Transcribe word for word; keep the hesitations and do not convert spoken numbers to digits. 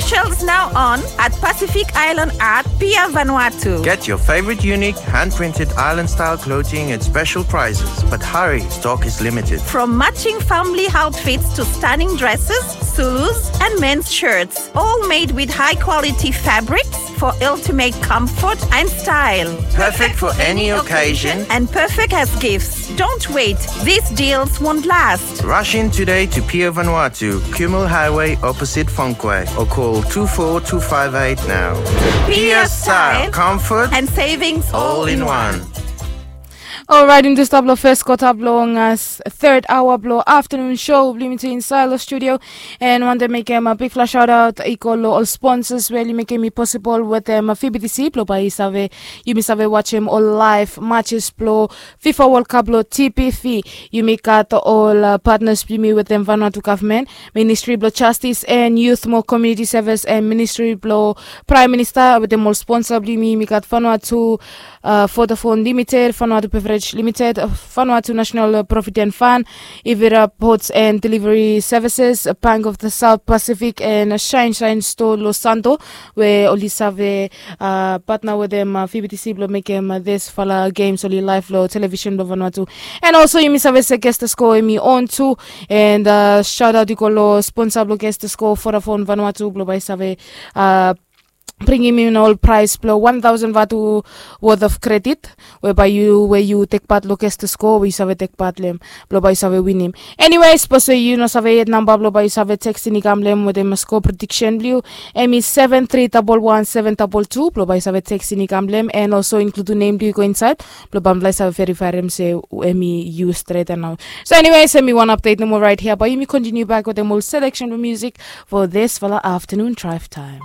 Shells now on at Pacific Island Art, Pier Vanuatu. Get your favorite unique hand-printed island-style clothing at special prices, but hurry, stock is limited. From matching family outfits to stunning dresses, Zulus, and men's shirts, all made with high-quality fabrics for ultimate comfort and style. Perfect for any occasion and perfect as gifts. Don't wait, these deals won't last. Rush in today to Pier Vanuatu, Kumul Highway, opposite Fonquay, or call two four two five eight now. Pier style, comfort, and savings all in one. Alright, in this tablo first quarter blong us third hour blo afternoon show blong yumi tu inside lo studio. And wanted mekem a big flash shout out i go lo ol sponsors we oli mekem i possible wetem V B T C blo bae i save yumi save watchem ol live matches blo FIFA World Cup lo T P V. Yumi gat ol uh, partners blong yumi wetem Vanuatu government, Ministry blo Justice and Youth mo Community Service and Ministry blo Prime Minister wetem ol sponsor blong yumi. Yumi gat Vanuatu uh, Vodafone Limited, Vanuatu Beverage Limited, uh, Vanuatu National Provident Fund, Ivira Ports and Delivery Services, Bank of the South Pacific, and Shine Shine Store Los Santo, we oli save uh, partner wetem uh, V B T C blo mekem uh, this fala games oli live lo television blo Vanuatu. And also yumi save se guest score emi on tu. And uh, shout out i go lo sponsor blo guest score, Vodafone Vanuatu, blo bae i save uh, bringim in ol prize blo one thousand vatu worth of credit we bae yu we yu tek part lo guest score we yu save tek part lem blo bae yu save winim. Anyway, sapos we yu no save yet namba blo bae yu save tekstin i kam lem wetem score prediction blo yu, emi seven three double one seven double two blo bae yu save tekstin i kam lem, and also include nem blo yu go inside blo bae mifala i save verifaerem se emi yu stret nao. So anyways, emi wan update nomo right here, bae yumi continue back wetem ol selection blo music for this fala afternoon drive time.